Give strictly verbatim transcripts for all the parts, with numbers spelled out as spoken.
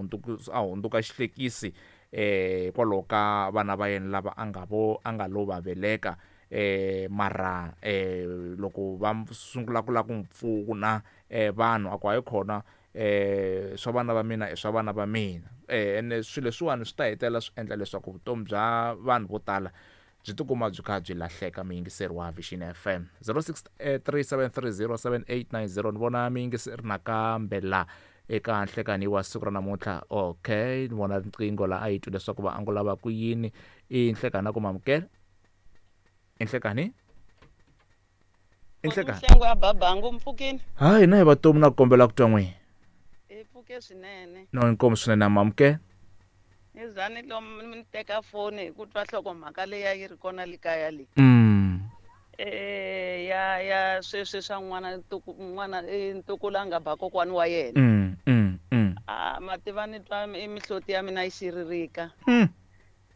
hundzuka a hundzuka xihlekisi eh hikwalaho ka vana va yena lava a nga vo a nga lo va veleka eh mara eh loko va sungula ku lava ku n'wi pfuna eh vanhu a ku hayi khona eh swa vana va mina i swa vana va mina eh ene swilo leswiwani swi ta hetelela swi endla leswaku vutomi bya vanhu vo tala byi tikuma byi kha byi lahleka. Muyingiseri wa Vision F M zero six three seven three zero seven eight nine zero ni vona muyingiseri nakambe la eka nhlekani wa siku ra namuntlha. Okay, ni vona riqingho la a yi twi leswaku va angula va ku yini. I nhlekani na ku mamukela i nhlekani i nhlekani Mhlengo ya babangu mpfukini. Hayi na hi vatomi na ku kombela ku twa n'wina. I pfuke swinene. No inkomu swinene mamukela. Ni zani lomu ni teka foni hi ku twa nhlokomhaka leyi a yi ri kona le kaya leyi. Mm. Eh ya ya sweswi swa n'wana ntuku n'wana i ntukulu a nga ba kokwani wa yena. Mm, mm, mm. A mativa ni twa i mihloti ya mina yi xiririka. Mm.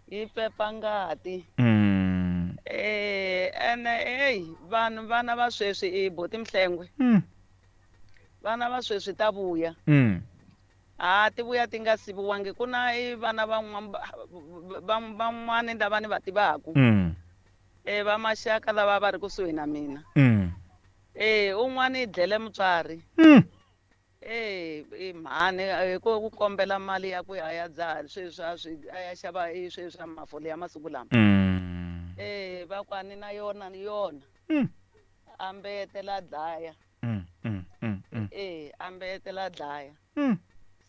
Yi pepa ngati. Mm. Eh ene hey vanhu vana va sweswi i boti Mhlengwe. Mm. Vana va sweswi ta vuya. Mm. A ti vuya ti nga siviwangi ku na i vana van'wani lava ni va tivaku. Mm. Eh va maxaka lava va ri kusuhi na mina. Mm. Eh un'wana i dlele mutswari. Mm. Eh i mhani hi ku kombela mali ya ku ya ya dzaha sweswi a swi a ya xava i sweswi swa mafole ya masiku lama. Mm. Eh va ku a ni na yona ni yona. Mm. A mbetela dlaya. Mm, mm, mm, mm. Eh a mbetela dlaya. Mm.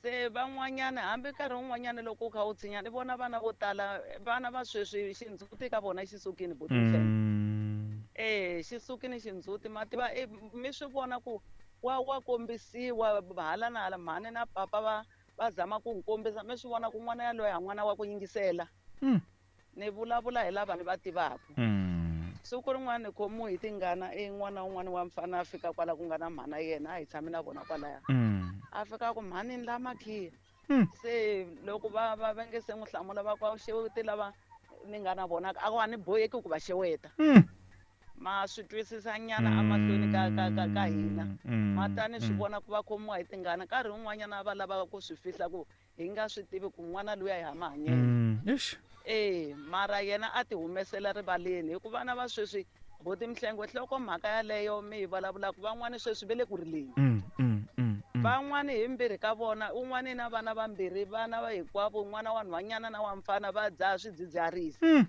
Se van'wanyana hambi nkarhi wun'wanyana loko u kha u tshinya ni vona vana vo tala vana va sweswi xindzhuti ka vona xi sukile buti Mhlengwe. Mm. Eh xi sukile xindzhuti ma tiva mi swi vona ku wa wa kombisiwa hala na hala mhani na papa va va zama ku n'wi kombisa mi swi vona ku n'wana yaloye a n'wana wa ku yingisela. Mm. Ni vulavula hi lava ni va tivaka. Mm. Siku rin'wana ni khomiwe hi tingana i n'wana wun'wana wa mfana a fika kwala ku nga na mhana yena a hi tshami na vona kwalaya. Mm. A fika ku mhani ni la makhiya. Mm. Se loko va va va nge se n'wi hlamula va ku a wu xeweti lava ni nga na vona a ku a ni boheki ku va xeweta. Mm. Ma swi twisisa nyana emahlweni ka ka ka ka hina. Mm. Ma ta ni swi Mm. vona ku va khomiwa hi tingana nkarhi wun'wanyana va lava ku swi fihla ku hi nga swi tivi ku n'wana luya hi ha mahanyelo. Mm. Eish. Eh mara yena a ti humesela rivaleni hikuva vana va sweswi buti Mhlengwe nhlokomhaka yaleyo mi yi vulavulaka van'wani sweswi va le ku rileni. Mm, mm, mm, mm. Van'wani hi mbirhi ka vona un'wani na vana vambirhi vana va hinkwavo n'wana wa nhwanyana na wa mfana va dzaha swidzidziharisi. Mm.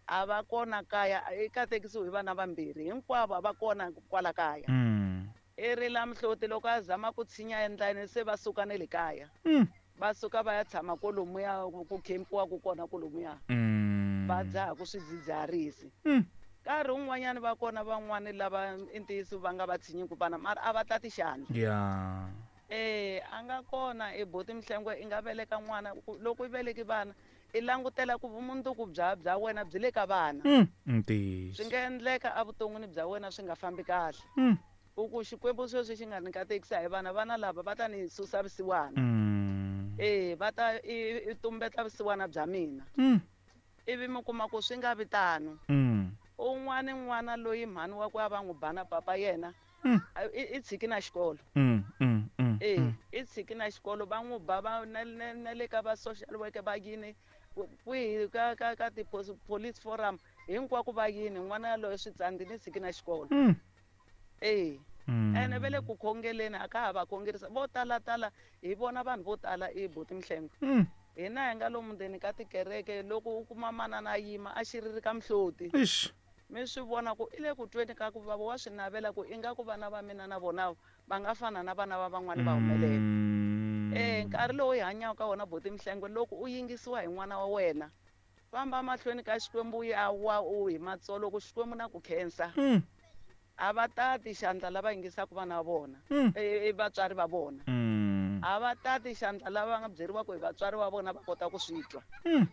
A va kona kaya i katekisiwe hi vana vambirhi hinkwavo a va kona kwala kaya. Mm. I rila mihloti loko a zama ku tshinya endlani se va suka ne le kaya. Mm. Va suka va ya tshama kolomuya ku khempiwaka kona kolomuya. Mm. Va dzaha ku swidzidziharisi. Mm. Nkarhi wun'wanyana va kona van'wani lava i ntiyiso va nga va tshinyiku vana mara a va tati xandla. Yeah. Eh a nga kona i buti Mhlengwe i nga veleka n'wana loko i veleki vana i langutela ku vumundzuku bya bya wena byi le ka vana. Mm. Ntiyiso. Swi nga endleka evuton'wini bya wena swi nga fambi kahle. Mm. U ku Xikwembu sweswi xi nga ni katekisa hi vana vana lava va ta ni susa vusiwana. Mm. Eh va ta i tumbeta vusiwana bya mina. Mm. Ivi mi kuma ku swi nga vi tano. Mm. Un'wana n'wana loyi mhani wa ku a va n'wi ba na papa yena Mm. i tshiki na xikolo. Mm, mm, mm, Eh mm. i tshiki na xikolo va n'wi ba va na na na le ka va social worker va yini kwihi ka ka ka ti police forum hinkwako va yini n'wana yaloye swi tsandzile tshiki na xikolo. Mm. Eh Mm. ene va le ku khongeleni a ka ha va khongerisa vo tala tala hi vona vanhu vo tala i buti Mhlengwe. Mm. Hina hi nga lomu ndzeni ka tikereke loko u kuma manana a yima a xiririka mihloti. Eish. Mi swi vona ku i le ku tweni ka ku vava wa swi navela ku ingaku vana va mina na vona va nga fana na vana va van'wani va humelela. Mm. Eh nkarhi lowu hi hanyaka ka wona buti Mhlengwe loko u yingisiwa hi n'wana wa wena famba mahlweni ka Xikwembu ya wa u hi matsolo ku Xikwembu na ku khensa. Mm. A va tati xandla lava yingisaka vana va vona Mm. e vatswari va vona. Mm. A va tati xandla lava nga byeriwaka hi vatswari va vona va kota ku swi twa. Mm.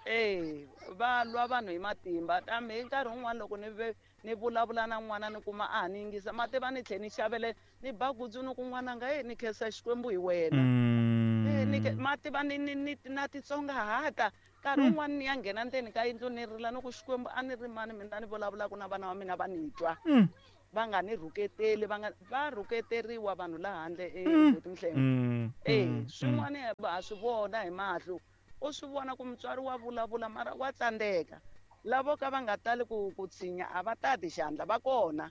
Eh va lwa vanhu hi matimba kambe hi nkarhi wun'wani loko ni ve ni vulavula na n'wana ni kuma a ha ni yingisa mativa ni tlhela ni xavele ni ba gutsu ni ku n'wananga e ni khensa Xikwembu hi wena. Mm. Eh ni mativa ni ni ni na titsongahata nkarhi Mm. wun'wani ni ya nghena ndzeni ka yindlu ni rila ni ku Xikwembu a ni ri mani mina ni vulavulaka na vana va mina va ni twa. Mm. va nga ni rhuketeli va nga va rhuketeriwa vanhu la handle ebuti Mhlenge. Eh swin'wana ha swi vona hi mahlo u swi vona ku mutswari wa vulavula mara wa tsandzeka lavo ka va nga tali ku ku tshinya a va tati xandla va kona.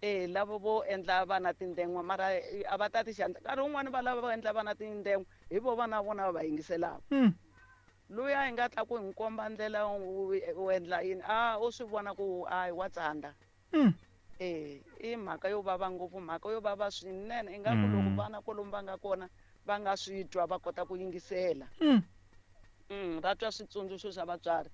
Eh lavo vo endla vana tindengwa mara a va tati xandla nkarhi wun'wani va lava va endla vana tindengwa hi vo vana vona va va yingiselaka. Luya hi nga ta ku hi komba ndlela u endla yini a u swi vona ku a wa tsanda. Eh i mhaka yo vava ngopfu mhaka yo vava swinene ingaku loko vana kwalomu va nga kona va nga swi twa va kota ku yingisela. Mm va twa switsundzuxo swa vatswari.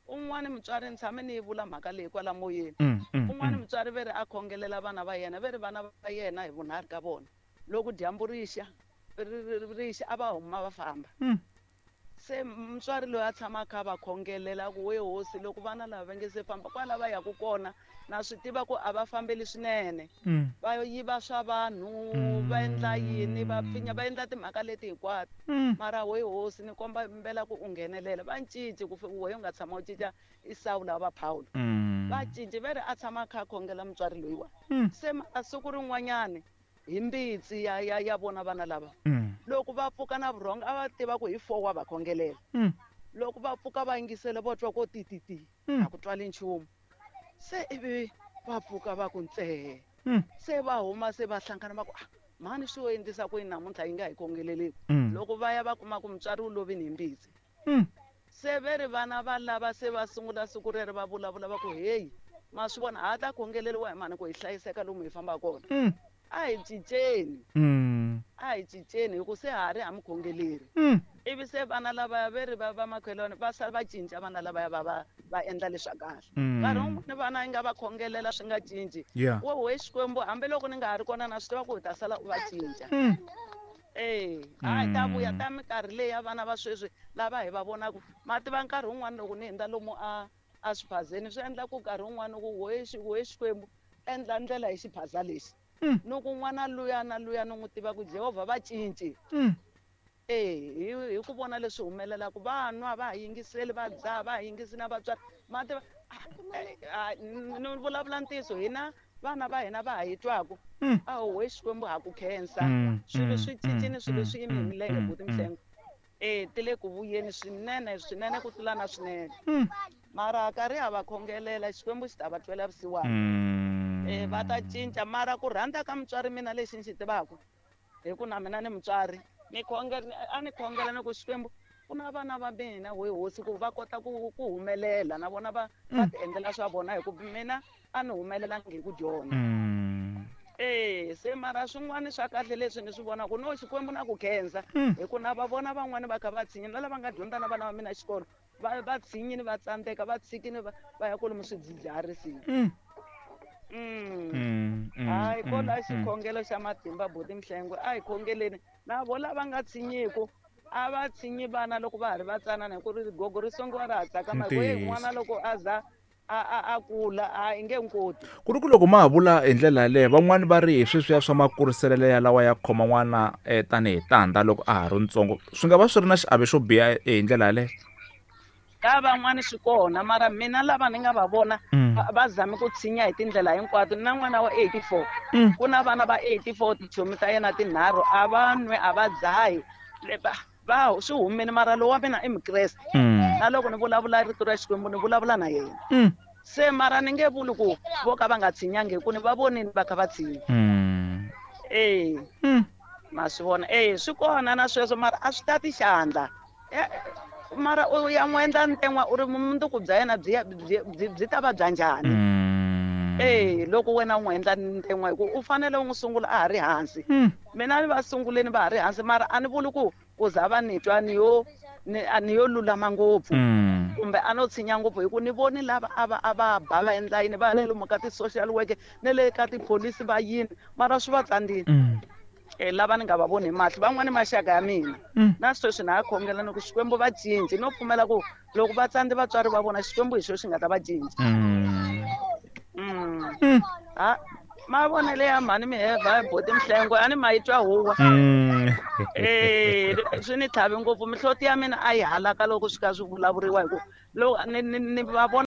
Un'wana mutswari ni tshame ni yi vula mhaka leyi kwala moyeni. Un'wana mutswari ve ri a khongelela vana va yena ve ri vana va yena hi vunharhu ka vona loko dyambu rixa rixa a va huma va famba. Se mutswari loyi a tshama a kha va khongelela ku we hosi loko vana lava va nge se famba kwala va yaku kona na swi tiva ku a va fambeli swinene va yiva swa vanhu va endla yini va pfinya va endla timhaka leti hinkwato mara we hosi ni komba mbela ku u nghenelela va cinci ku we u nga tshama u cinca Isawu lava va Paulo va cinci ve ri a tshama a kha a khongela mutswari loyiwa. Se a siku rin'wanyani hi mbitsi ya ya ya vona vana lava loko va pfuka na vurhonga a va tiva ku hi four wa va khongelela loko va pfuka va yingisela vo twa ko tititi a ku twali nchumu se ivi va pfuka va ku ntsee se va huma se va hlangana va ku ah mhani swi endlisa ku yini namuntlha yi nga hi khongeleleki loko va ya va kuma ku mutswari wu lovini hi mbitsi. Se ve ri vana va lava se va sungula siku rero va vulavula va ku heyi ma swi vona ha ta khongeleriwa hi mhani ku hi hlayiseka lomu hi fambaka kona a hi cinceni a hi cinceni hi ku se ha ri ha mi khongeleri. Ivi se vana lavaya ve ri va va makhelwani va sala va cinca vana lavaya va va va endla leswa kahle. Nkarhi wun'wani vana yi nga va khongelela swi nga cinci wo we Xikwembu hambiloko ni nga ha ri kona na swi tiva ku hi ta sala u va cinca. Eh a hi ta vuya ta minkarhi leyi ya vana va sweswi lava hi va vonaka ma tiva nkarhi wun'wani loko ni hundza lomu a a swiphazeni swi endla ku nkarhi wun'wani ku we we Xikwembu endla ndlela hi xiphaza lexi. Ni ku n'wana luya na luya ni n'wi tiva ku Jehovha va cinci. Eh hi ku vona leswi humelelaka va nwa va ha yingiseli va dzaha va ha yingisi na vatswari ma tiva ni vulavula ntiyiso hina vana va hina va ha yi twaku a we Xikwembu ha ku khensa swilo swi cincile swilo swi yime hi milenge buti Mhlenge. Eh ti le ku vuyeni swinene swinene ku tlula na swinene mara karhi ha va khongelela Xikwembu xi ta va twela vusiwana. Eh va ta cinca mara ku rhandza ka mutswari mina lexi ni xi tivaka hi ku na mina ni mutswari ni khongela a ni khongela ni ku Xikwembu ku na vana va mina we hosi ku va kota ku ku humelela na vona va va ti endlela swa vona hi ku mina a ni humelelangi hi ku dyondza. Eh se mara swin'wana swa kahle leswi ni swi vonaka no Xikwembu na ku khensa hi ku na va vona van'wani va kha va tshinya na lava nga dyondza na vana va mina xikolo va va tshinyini va tsandzeka va tshikini va va ya kwalomu swidzidziharisini. Mm. Hayi kola xikhongelo xa matimba buti Mhlengwe a hi khongeleni na vo lava nga tshinyiku a va tshinyi vana loko va ha ri vatsanana hi ku ri gogo ri songiwa ra ha tsakama hi ku ye n'wana loko a za a a a kula a i nge nkoti. Ku ri ku loko ma ha vula hi ndlela yaleyo van'wani va ri hi sweswiya swa makuriselelo ya lawa ya khoma n'wana tanihi tandza loko a ha ri ntsongo swi nga va swi ri na xiave xo biha hi ndlela yaleyo. Ka van'wani swi kona mara mina lava ni nga va vona va zame ku tshinya hi tindlela hinkwato na n'wana wa eighty-four ku na vana va eighty-four tichomi ta yena tinharhu a va nwe a va dzahi va swi humile mara lowa mina i mukreste na loko ni vulavula rito ra Xikwembu ni vulavula na yena. Se mara ni nge vuli ku vo ka va nga tshinyangi hi ku ni va vonini va kha va tshinya. Eh ma swi vona eh swi kona na sweswo mara a swi tati xandla mara u ya n'wi endla nten'wa u ri mundzuku bya yena byi byi byi ta va bya njhani. Eh loko wena u n'wi endla nten'wa hi ku u fanele u n'wi sungula a ha ri hansi. Mina ni va sunguleni va ha ri hansi mara a ni vuli ku ku za va ni twa ni yo ni a ni yo lulama ngopfu kumbe a no tshinya ngopfu hi ku ni voni lava a va a va ba va endla yini va le lomu ka ti-social work na le ka tipholisi va yini mara swi va tsandzile. Eh lava ni nga va voni hi mahlo van'wani maxaka ya mina na sweswi na ha khongela ni ku Xikwembu va cinci no pfumela ku loko va tsandze vatswari va vona Xikwembu hi xo xi nga ta va cinca. Mm. Ha mavonelo ya mhani Miheva buti Mhlengwe a ni ma yi twa huwa. Eh swi ni tlhavi ngopfu mihloti ya mina a yi halaka loko swi ka swi vulavuriwa hi ku loko ni ni ni va vona.